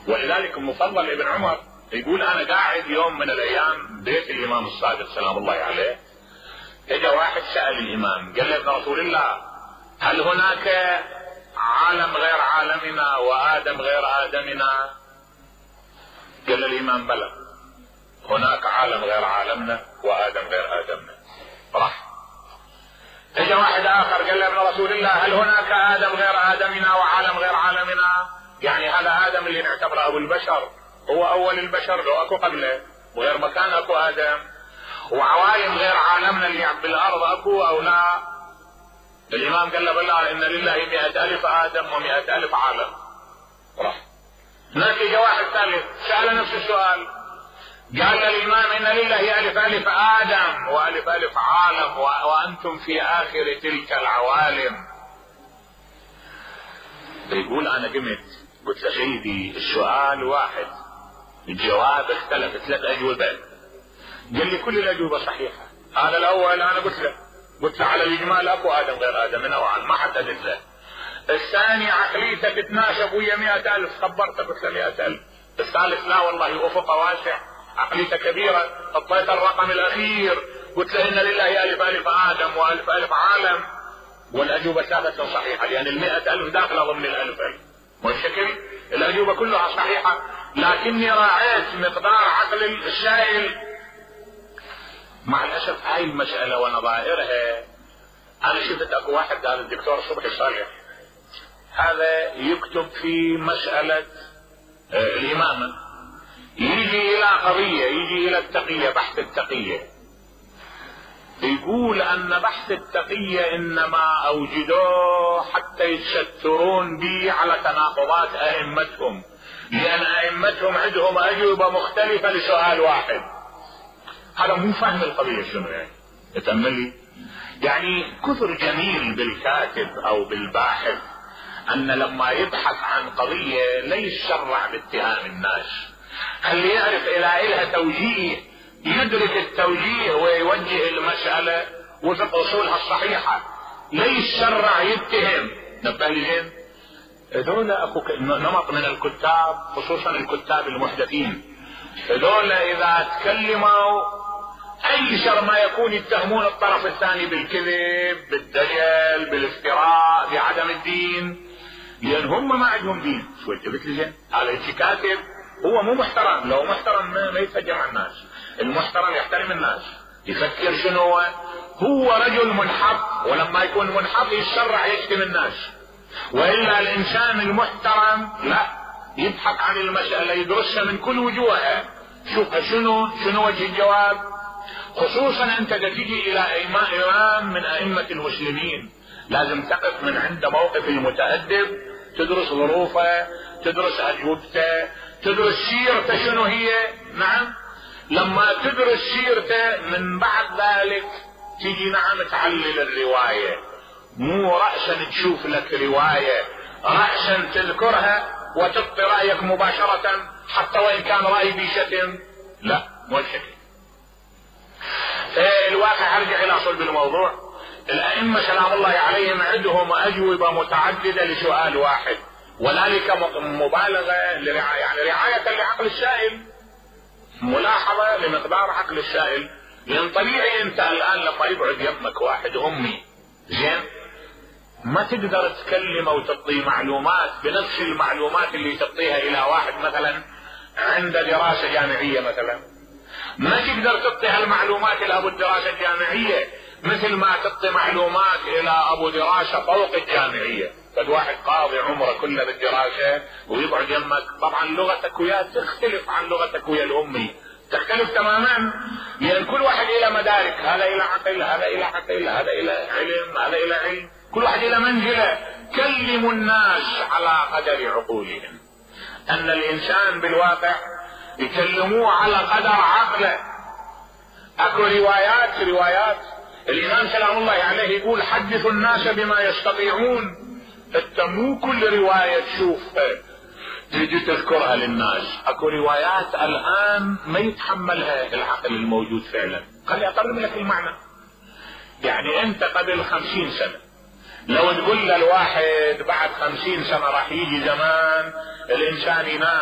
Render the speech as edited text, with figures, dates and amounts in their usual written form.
ولذلك المفضل ابن عمر يقول انا قاعد يوم من الايام بيت الامام الصادق سلام الله عليه، اجا واحد سأل الامام قال له ابن رسول الله هل هناك عالم غير عالمنا وادم غير ادمنا؟ قال الامام بلى، هناك عالم غير عالمنا وادم غير ادمنا. راح اجا واحد اخر قال له ابن رسول الله هل هناك ادم غير ادمنا وعالم غير عالمنا؟ يعني هذا ادم اللي نعتبره ابو البشر هو اول البشر، لو اكو قبله وغير مكان اكو ادم، وعوالم غير عالمنا اللي بالارض اكو او لا؟ الامام قال له بلى ان لله 100,000 ادم و100,000 عالم. راح هناك اجا واحد ثالث سأل نفس السؤال، قال الامام ان لله 1,000 ادم و1,000 عالم وانتم في اخر تلك العوالم. يقول انا قلت له سيدي السؤال واحد الجواب اختلف 3 اجوبه. قال لي كل الاجوبه صحيحه. هذا الاول انا قلت له على الاجمال اكو ادم غير ادمنا وعالم، ما حددت له. الثاني عقليتك تتناسب ويا 100,000، خبرتك قلت له 100,000. الثالث لا والله افقه واسع، عقليته كبيره، حطيت الرقم الاخير قلت له ان لله 1,000 ادم و1,000 عالم، والاجوبه ثابته صحيحه لان 100,000 داخله ضمن 1,000. والشكل الاجوبه كلها صحيحه، لكني راعيت مقدار عقل السائل. مع الاسف هاي المساله ونظائرها انا شفت اكو واحد هذا الدكتور صبحي صالح هذا يكتب في مساله الامامه، يجي الى قضيه، يجي الى التقيه، بحث التقيه، يقول ان بحث التقيه انما اوجدوه حتى يتسترون به على تناقضات ائمتهم، لان ائمتهم عندهم اجوبه مختلفه لسؤال واحد. هذا مو فهم القضيه شنو يعني، تأملي يعني كثر جميل بالكاتب او بالباحث ان لما يبحث عن قضيه لا يتشرع باتهام الناس، هل يعرف الى توجيه، يدرك التوجيه ويوجه المسألة وفق اصولها الصحيحة، لا يتشرع يتهم. نبه لي زين، هذول اكو نمط من الكتاب خصوصا الكتاب المحدثين، هذول اذا تكلموا اي شر ما يكون يتهمون الطرف الثاني بالكذب، بالدجل، بالافتراء، بعدم الدين، لان هم ما عندهم دين. شو قلت لي زين؟ هذا كاتب هو مو محترم، لو محترم ما يتفجر على الناس، المحترم يحترم الناس، يفكر شنو هو رجل منحط، ولما يكون منحط يتشرع يشتم الناس. والا الانسان المحترم لا، يبحث عن المسألة يدرسها من كل وجوهها، شوف شنو وجه الجواب. خصوصا انت تجي الى امام من ائمة المسلمين لازم تقف من عند موقف المتأدب، تدرس ظروفه، تدرس اجوبته، تدرس سيرته شنو هي. نعم، لما تدرس سيرته من بعد ذلك تيجي نعم تعلل الرواية، مو رأسا تشوف لك رواية، رأسا تذكرها وتبقي رأيك مباشرة حتى وإن كان رأي بشتم، لا مو الشكل. الواقع ارجع الى صلب الموضوع، الائمة سلام الله عليهم عندهم اجوبة متعددة لسؤال واحد، وذلك مبالغة يعني رعاية لعقل السائل، ملاحظة لمقدار عقل السائل. لان طبيعي انت الان لما يقعد يمك واحد امي زين ما تقدر تكلمه وتعطيه معلومات بنفس المعلومات اللي تعطيها الى واحد مثلا عنده دراسة جامعية مثلا، ما تقدر تعطي هالمعلومات الى ابو الدراسة الجامعية مثل ما تعطي معلومات الى ابو دراسة فوق الجامعية. قد واحد قاضي عمره كله بالدراسة ويقعد يمك، طبعا لغتك وياه تختلف عن لغتك ويا الامي، تختلف تماما، لان كل واحد الى مدارك، هذا الى عقل، هذا الى عقل، هذا الى علم، هذا الى علم، كل واحد الى منزلة. كلموا الناس على قدر عقولهم، ان الانسان بالواقع يكلموه على قدر عقله. اكو روايات الامام سلام الله عليه يقول حدثوا الناس بما يستطيعون. انت مو كل رواية تشوفها تيجي تذكرها للناس، اكو روايات الان ما يتحملها العقل الموجود فعلا. خلي اقرب لك المعنى، يعني انت قبل 50 سنة لو تقول للواحد بعد 50 سنة راح يجي زمان الانسان ينام